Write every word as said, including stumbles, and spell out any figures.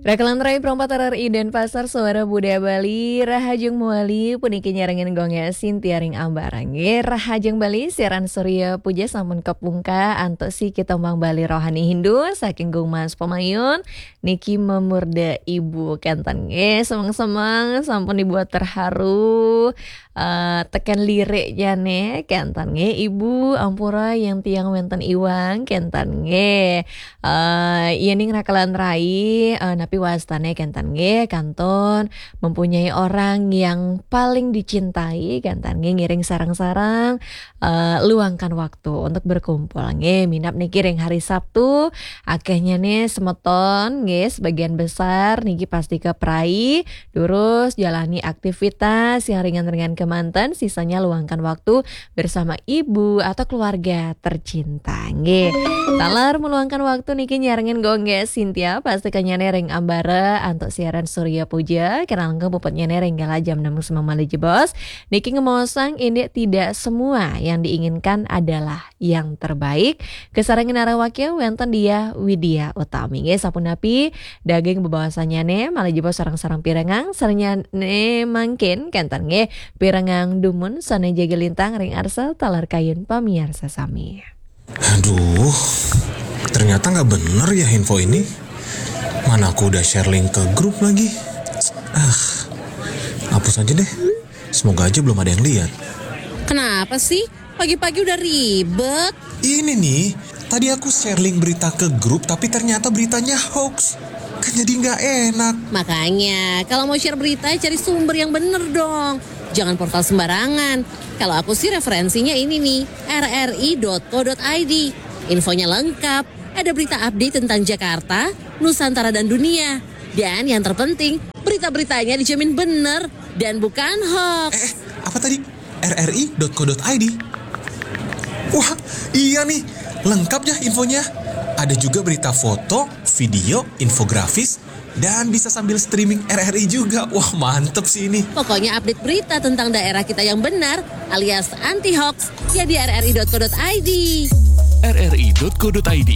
Rakelan Rai Perompat R R I Denpasar, Suara Budaya Bali, rahajeng malih puniki nyarengin Gung Sintia ring ambarang. Nggih, rahajeng malih siaran Surya Puja sampun kapungka antuk siki tembang Bali rohani Hindu saking Gung Mas Pamayun. Niki memurda ibu kenten nggih, semeng-semeng sampun dibuat terharu. Eh, teken liriknya nih kenten nggih, ibu ampura yang tiang wenten iwang kenten nggih. Eh, yening rakelan rai, eh, napi wastane kenten nggih, kantun mempunyai orang yang paling dicintai kenten nggih, ngiring sareng-sareng, eh, luangkan waktu untuk berkumpul nggih. Minab niki ring hari Sabtu, akehnya nih semeton nggih, sebagian besar niki pasti ke prai, durus jalani aktivitas yang ringan-ringan kemanten, sisanya luangkan waktu bersama ibu atau keluarga tercinta. Nggih. Taler meluangkan waktu niki nyarengin Gung Sintia, pasti kenyane ring ambara antuk siaran Surya Puja, kena lengkap puputnya ring gala jam enam semamali jebos. Niki ngemaosang indik tidak semua yang diinginkan adalah yang terbaik. Kasarengin arawakya wenten Diah Widya Utami. Nggih, sapunapi daging bebawasannyane malih jebos sareng-sareng pirengang, sarengnyane mangkin kenten nggih pirengang dumun sane jaga lintang ring arsa taler kayun pamiarsa sami. Aduh, ternyata nggak bener ya info ini. Mana aku udah share link ke grup lagi. Ah, hapus aja deh. Semoga aja belum ada yang lihat. Kenapa sih? Pagi-pagi udah ribet. Ini nih, tadi aku share link berita ke grup tapi ternyata beritanya hoax. Kan jadi nggak enak. Makanya, kalau mau share berita, cari sumber yang bener dong. Jangan portal sembarangan. Kalau aku sih referensinya ini nih, rri.co.id. Infonya lengkap, ada berita update tentang Jakarta, Nusantara dan dunia. Dan yang terpenting, berita-beritanya dijamin bener dan bukan hoax. Eh, apa tadi? rri.co.id. Wah, iya nih, lengkap ya infonya. Ada juga berita foto, video, infografis, dan bisa sambil streaming R R I juga. Wah, mantep sih ini. Pokoknya update berita tentang daerah kita yang benar alias anti hoax ya di rri.co.id. rri.co.id.